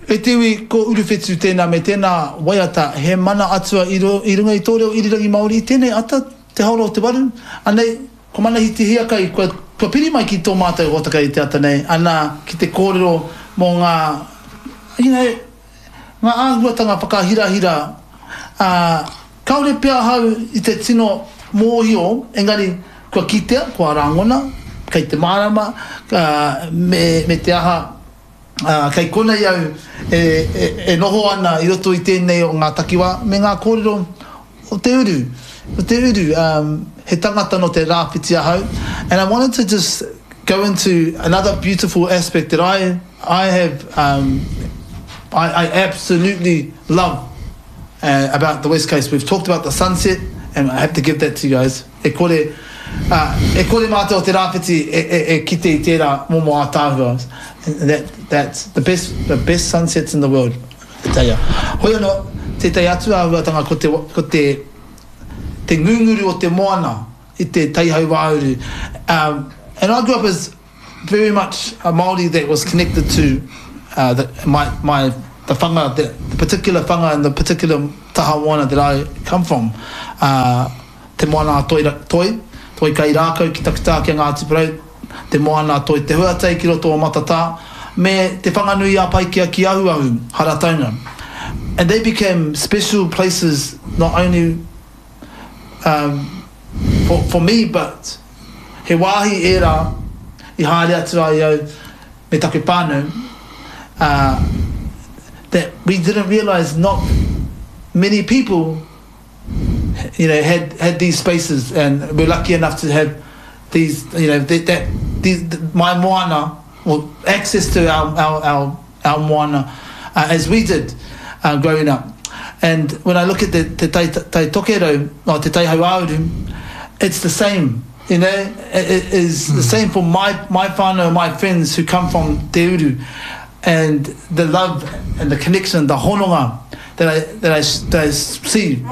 E te iwi, ko Uruwhetu tēnā me tēnā waiata, he mana atua i i runga i tō reo irirangi Māori i tēnei ata, te haora o te waru, anei, ko Manahi Te Hiakai kua, kua piri mai ki tō mātou hōtaka i te ata nei, ana, ki te kōrero mō ngā, you know, ngā āhuatanga whakahirahira, ā, kāore pea ahau i te tino mōhio, engari kua kitea, kua rangona, kei te mārama, ā, me, me te aha, Ā, kei konei au e, e, e noho ana i roto i tēnei o ngā takiwā me ngā kōrero o te uru, o te uru, um, he tangata nō te rāwhiti ahau. And I wanted to just go into another beautiful aspect that I, I have, um, I, I absolutely love uh, about the West Coast. We've talked about the sunset, and I have to give that to you guys. E kore, ā, e kore mātou o te rāwhiti e, e, e kite i tērā momo ātaahua. That, that's the best, the best sunsets in the world. Te taia. Hoi anō, tētahi atu āhuatanga ko te, ko te, te ngunguru o te moana i te tai hauāuru. Um, and I grew up as very much a Māori that was connected to uh, the, my, my, the whanga, the, the particular whanga and the particular taha moana that I come from. Uh, Te Moana a Toi, Toi, Toi Kai Rākau ki taku taha ki a Ngāti Porou, Te Moana a Toi Te Huatei ki roto o Matatā, me Te Whanganui a Paikea ki Ahuahu, Harataunga. And they became special places not only um, for, for me but he wāhi ērā i haere atu ai au me taku whānau, uh, that we didn't realise not many people you know, had, had these spaces and we're lucky enough to have these, you know, that, that these, my moana, or access to our, our, our, our moana uh, as we did uh, growing up. And when I look at the Te Tai, tai Tokerau, or Te Tai Hauāuru, it's the same. You know, it, it is mm. the same for my, my whānau and my friends who come from Te Uru. And the love and the connection, the hononga that I, that I, that I see.